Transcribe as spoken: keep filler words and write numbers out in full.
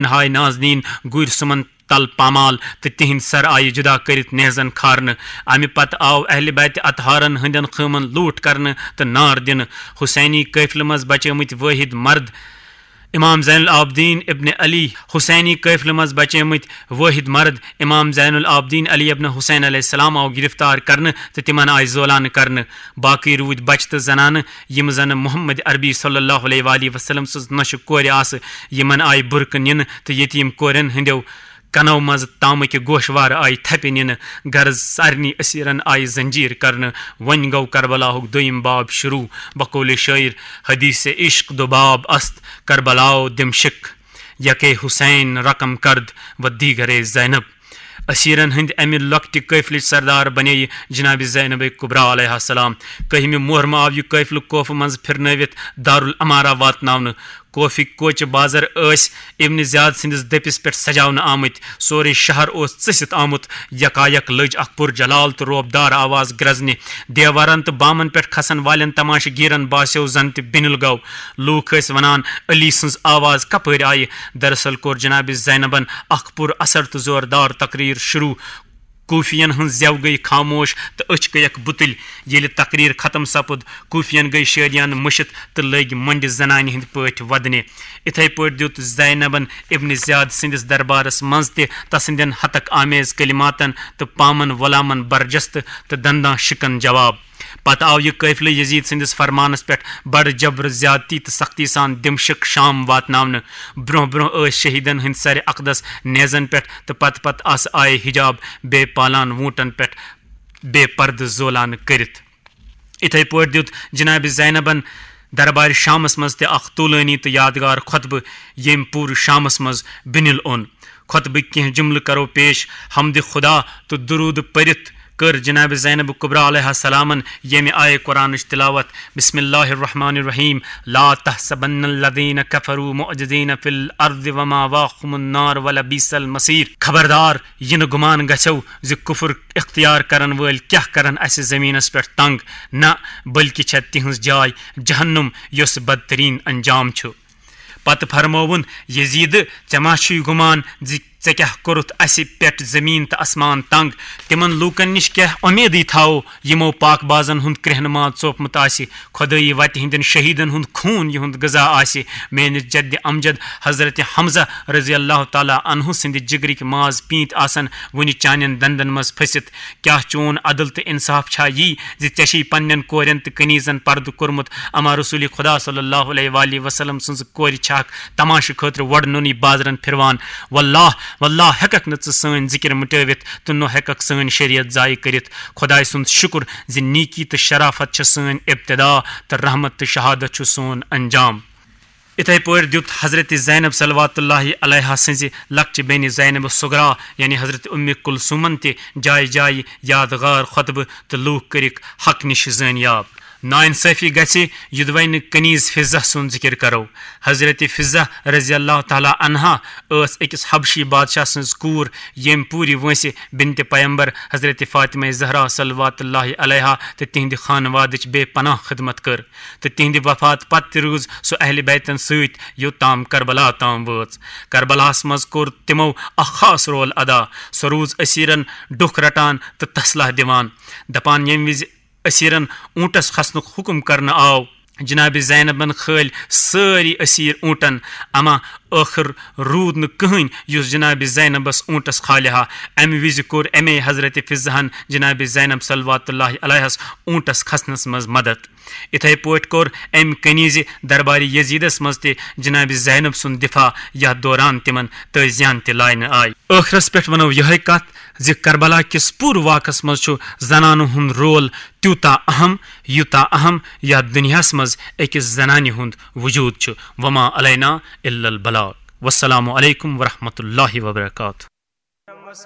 نہاے نازنین گُرۍ سُمن تل پامال تہٕ تِہنٛدۍ سر آیہِ جدا کٔرِتھ نیزن کھارنہٕ۔ امہِ پتہٕ آو اہلِ بیت اطہارن ہٕنٛدٮ۪ن خٲمن لوٗٹھ کرنہٕ تہٕ نار دِنہٕ۔ حسینی قٲفلہٕ منٛز بچیمٕتۍ وٲحد مرد امام زین العابدین ابن علی حسینی قٲفلہٕ منٛز بچیمٕتۍ وٲحد مرد امام زین العابدین علی ابن حسین علیہ السلام آو گرفتار کرنہٕ تہٕ تِمن آیہِ زولانہٕ کرنہٕ۔ باقٕے روٗدۍ بچہٕ تہٕ زنانہٕ، یِم زن محمد عربی صلی اللہ علیہ وآلہ وسلم سٕنٛز نۄشہِ کورِ آسہٕ، یِمن آیہِ بُرکہٕ نِنہٕ تہٕ یتیٖم کورٮ۪ن ہٕنٛدیو کنو منٛزٕ تامٕکہِ گوشوارٕ آیہِ تھپہِ نِنہٕ۔ غرض، سارنٕے اسیرن آیہِ زنجیر کرنہٕ۔ وۄنۍ گوٚو کربلاہُک دوٚیِم باب شروع۔ بقول شٲعر، حدیث عشق دو باب است، کربلا و دمشق، یکے حسین رقم کرد و دیگرے زینب۔ اسیرن ہٕنٛدِ امہِ لۄکٹہِ قٲفلٕچ سردار بنے جناب زینب کبریٰ علیہ السلام۔ کٔہمہِ محرمہٕ آو یہِ قٲفلہٕ کوفہٕ منٛز پھرنٲوِتھ دارالامارہ واتناونہٕ۔ کوفٕکۍ کوچہِ بازر ٲسۍ ابن زیاد سٕنٛدِس دٔپِس پٮ۪ٹھ سجاونہٕ آمٕتۍ۔ سورُے شہر اوس ژٔسِتھ آمُت۔ یکایک لٔج اکھ پُر جلال تہٕ رعب دار آواز گرزنہِ۔ دیوارن تہٕ بامن پٮ۪ٹھ کھسن والٮ۪ن تماشہٕ گیرن باسیو زن تہِ بِنِل گوٚو۔ لوٗکھ ٲسۍ ونان، علی سٕنٛز آواز کپٲرۍ آیہِ؟ دراصل کوٚر جناب زینبن اکھ پُر اثر تہٕ زوردار تقریر شروع۔ کوفین ہٕنٛز زٮ۪و گٔیہِ خاموش تہٕ أچھ گٔیَکھ بُتٕلۍ۔ ییٚلہِ تقریر ختم سپُد، کوفین گٔیہِ شٲدیانہٕ مٔشِتھ تہٕ لٔگۍ مۄنڈِ زنانہِ ہٕنٛدۍ پٲٹھۍ ودنہِ۔ اِتھے پٲٹھۍ دیُت زینبن ابن زیاد سٕنٛدِس دربارس منٛز تہِ تسٕنٛدٮ۪ن ہتک آمیز کلماتن تہٕ پامن غلامن برجستہٕ تہٕ دنداں شکن جواب۔ پتہٕ آو یہِ قٲفلہٕ یزید سٕنٛدِس فرمانس پٮ۪ٹھ بڑٕ جبر زیادتی تہٕ سختی سان دمشق شام واتناونہٕ۔ برونٛہہ برونٛہہ ٲسۍ شہیدن ہٕنٛدۍ سرِ اقدس نیزن پٮ۪ٹھ تہٕ پتہٕ پتہٕ آسہٕ آیہِ حجاب بے پالان ووٗنٹن پٮ۪ٹھ بے پردٕ زولانہٕ کٔرِتھ۔ اِتھے پٲٹھۍ دیُت جناب زینبن دربارِ شامس منٛز تہِ اکھ طولٲنی تہٕ یادگار خطبہٕ، ییٚمۍ پوٗرٕ شامس منٛز بِنِل اوٚن۔ خطبٕکۍ کینٛہہ جملہٕ کرو پیش۔ حمدِ خدا تہٕ درود پٔرِتھ کٔر جناب زینب کبریٰ علیہ السلامن ییٚمہِ آیہِ قرآنٕچ تلاوت، بسم اللہ الرحمن الرحیم، لا تحسبن الذین کفروا معجزین فی الارض ومأواہم النار ولبئس المصیر۔ خبردار، یہِ نہٕ گُمان گژھٮ۪و زِ کفر اختیار کرن وٲلۍ کیٛاہ کرن اسہِ زمینس پٮ۪ٹھ تنگ، نہ، بلکہِ چھےٚ تِہنٛز جاے جہنم، یۄس بدترین انجام چھُ۔ پتہٕ فرمووُن، یزید، ژےٚ ما چھُے گُمان زِ ژےٚ کیٛاہ کوٚرُتھ اسہِ پٮ۪ٹھ زمین تہٕ اسمان تنگ؟ تِمن لوٗکن نِش کیٛاہ اُمیدٕے تھاوو، یِمو پاک بازن ہُنٛد کرٛہنہٕ ماز ژوپمُت آسہِ؟ خۄدٲیی وتہِ ہٕنٛدٮ۪ن شہیدن ہُنٛد خوٗن یِہُنٛد غذا آسہِ؟ میٲنِس جدِ امجد حضرت حمزہ رضی اللہ تعالیٰ عنہ سٕنٛدِ جگرٕکۍ ماز پیٖنتۍ آسن وُنہِ چانٮ۪ن دندن منٛز پھٔسِتھ؟ کیٛاہ چون عدل تہٕ انصاف چھا یی زِ ژےٚ چھے پننٮ۪ن کورٮ۪ن تہٕ کنیزن پردٕ کوٚرمُت، اما رسول خدا صلی اللہ علیہ وآلہ وسلم سٕنٛز کورِ چھِ اکھ تماشہٕ خٲطرٕ وۄڑ نوٚنُے بازرن پھِروان؟ واللہ، واللہ ہٮ۪ککھ نہٕ ژٕ سٲنۍ ذِکر مٹٲوِتھ تہٕ نہ ہٮ۪ککھ سٲنۍ شریعت ضایع کٔرِتھ۔ خۄداے سُنٛد شُکر زِ نیکی تہٕ شرافت چھےٚ سٲنۍ ابتدا تہٕ رحمت تہٕ شہادت چھُ سون انجام۔ اِتھے پٲٹھۍ دیُت حضرت زینب صلوات اللہ علیہا سٕنٛزِ لۄکچہِ بیٚنہِ زینب صغرا یعنی حضرت اُمہِ کلثومن تہِ جایہِ جایہِ یادگار خطبہٕ تہٕ لوٗکھ کٔرِکھ حق نِش زٲنیاب۔ ناانصٲفی گژھِ، یوٚدوَے نہٕ کنیز فضہ سُنٛد ذِکر کرو۔ حضرت فضہ رضی اللہ تعالیٰ عنہا ٲس أکِس حبشی بادشاہ سٕنٛز کوٗر، ییٚمۍ پوٗرِ وٲنٛسہِ بنتِ پیمبر حضرت فاطمہ زہرا صلوات اللہ علیہا تہٕ تِہنٛدِ خانوادٕچ بے پناہ خدمت کٔر تہٕ تِہنٛدِ وفات پتہٕ تہِ روٗز سۄ اہلِ بیتن سۭتۍ یوٚت تام کربلا تام وٲژ۔ کربلاہس منٛز کوٚر تِمو اکھ خاص رول ادا۔ سۄ روٗز اسیرن ڈوٚکھ رٹان تہٕ تسلہ دِوان، دپان، ییٚمہِ وِزِ اسیرن اونٹس کھسنُک حکم کرنہٕ آو، جناب زینبن کھٲلۍ سٲری اسیر اونٹن، اما ٲخر روٗد نہٕ کٕہٕنۍ یُس جناب زینبس اونٹس کھالہِ ہا۔ امہِ وِزِ کوٚر امے حضرت فضہن جناب زینب صلوات اللہ علیہس اونٹس کھسنس منٛز مدد۔ اِتھے پٲٹھۍ کوٚر امہِ کنیزِ دربارِ یزیدس منٛز تہِ جناب زینب سُنٛد دفاع، یتھ دوران تِمن تٲزیان تہِ لاینہٕ آیہِ۔ ٲخرس پٮ۪ٹھ ونو یِہے کتھ زِ کربلا کِس پوٗرٕ واقعس منٛز چھُ زنانہٕ ہُنٛد رول تیوٗتاہ اہم، یوٗتاہ اہم یتھ دُنیاہس منٛز أکِس زنانہِ ہُنٛد وجود چھُ۔ وما علینا الا البلاغ۔ والسلام علیکم ورحمۃ اللہ وبرکاتہ۔